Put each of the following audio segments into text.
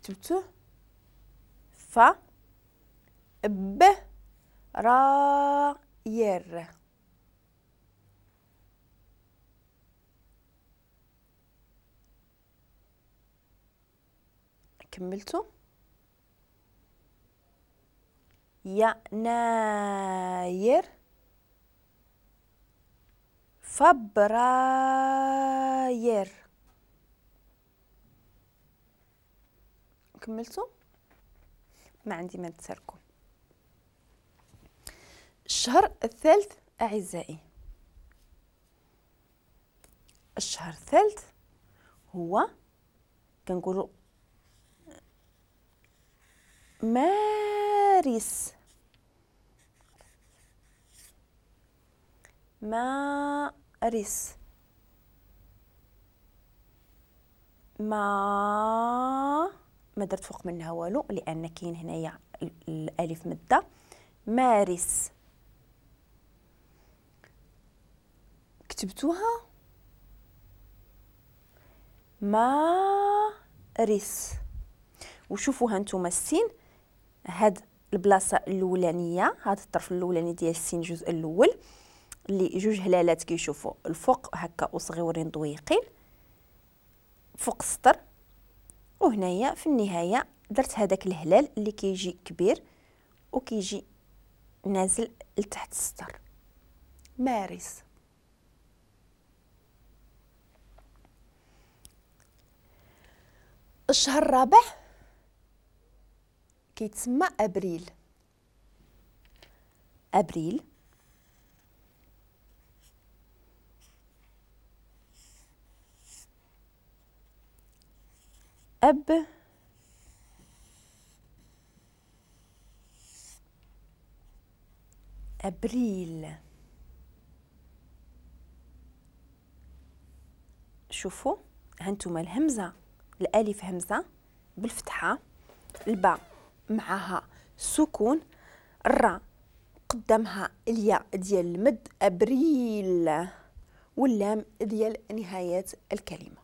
كتبتوه ف ب را ير. كملتو؟ يناير فبراير. كملتو؟ ما عندي ما نتسالكم. الشهر الثالث أعزائي، الشهر الثالث هو كنقولوا مارس. مارس، ما درت فوق منها والو لان كاين هنايا الالف مده. مارس، كتبتوها مارس. وشوفوها نتوما السين، هاد البلاصة الاولانية، هاد الطرف الاولاني ديال السين الجزء الاول اللي جوج هلالات كيشوفوا الفوق هكا وصغيورين ضويقين فوق السطر، وهنايا في النهاية درت هذاك الهلال اللي كيجي كبير وكيجي نازل لتحت السطر. مارس. الشهر الرابع كيتسمى ابريل. ابريل أب أبريل. شوفوا هانتوما الهمزة، الألف همزة بالفتحة، الباء معها سكون، الراء قدامها الياء ديال المد أبريل، واللام ديال نهاية الكلمة.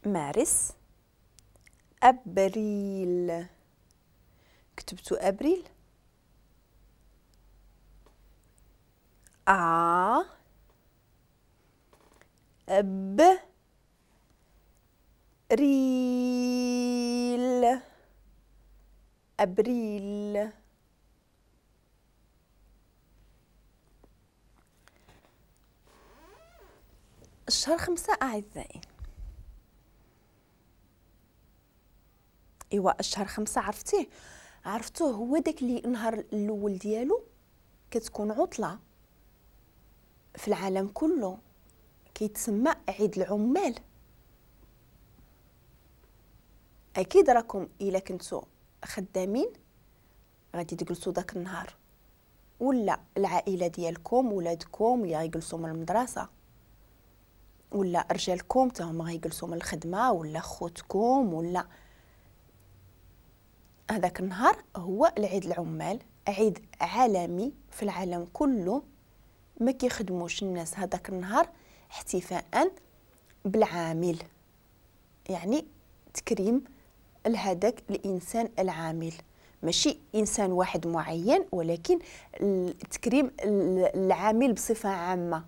مارس أبريل. كتبتو أبريل؟ أ ب ريل، أبريل. الشهر 5 أعزائي. ايوا الشهر 5 عرفتيه؟ عرفتوه هو داك اللي النهار الاول ديالو كتكون عطله في العالم كله، كيتسمى عيد العمال. اكيد راكم الا كنتو خدامين غادي تجلسوا داك النهار، ولا العائلة ديالكم ولادكم اللي غيجلسوا من المدرسة، ولا رجالكم حتى هما غيجلسوا من الخدمة، ولا خوتكم، ولا هذاك النهار هو العيد العمال، عيد عالمي في العالم كله، ما كيخدموش الناس هذاك النهار احتفاء بالعامل، يعني تكريم لهذاك الانسان العامل، ماشي انسان واحد معين ولكن تكريم العامل بصفة عامة.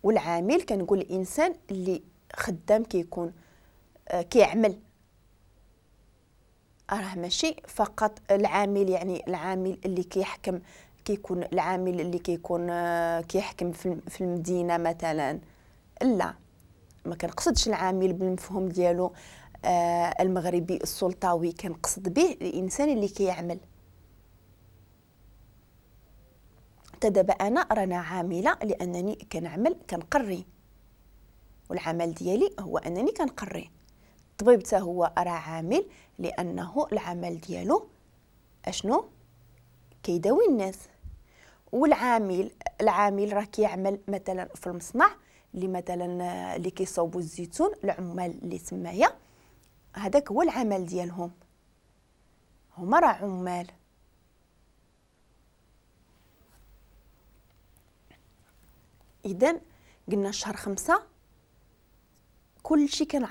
والعامل كنقول الانسان اللي خدام كيكون كيعمل، راه ماشي فقط العامل، يعني العامل اللي كيحكم، كيكون العامل اللي كيكون كيحكم في المدينة مثلا، لا ما كنقصدش العامل بالمفهوم ديالو المغربي السلطوي، كنقصد به الانسان اللي كيعمل. حتى دابا انا رانا عامله لانني كنعمل، كنقري، والعمل ديالي هو انني كنقري. الطبيب حتى هو راه عامل لانه العمل ديالو اشنو؟ كيداوي الناس. والعامل العامل راه كيعمل مثلا في المصنع اللي مثلا اللي كيصوبوا الزيتون، العمال اللي تمايا هذاك هو العمل ديالهم، هما راه عمال. اذا قلنا شهر 5 كلشي كان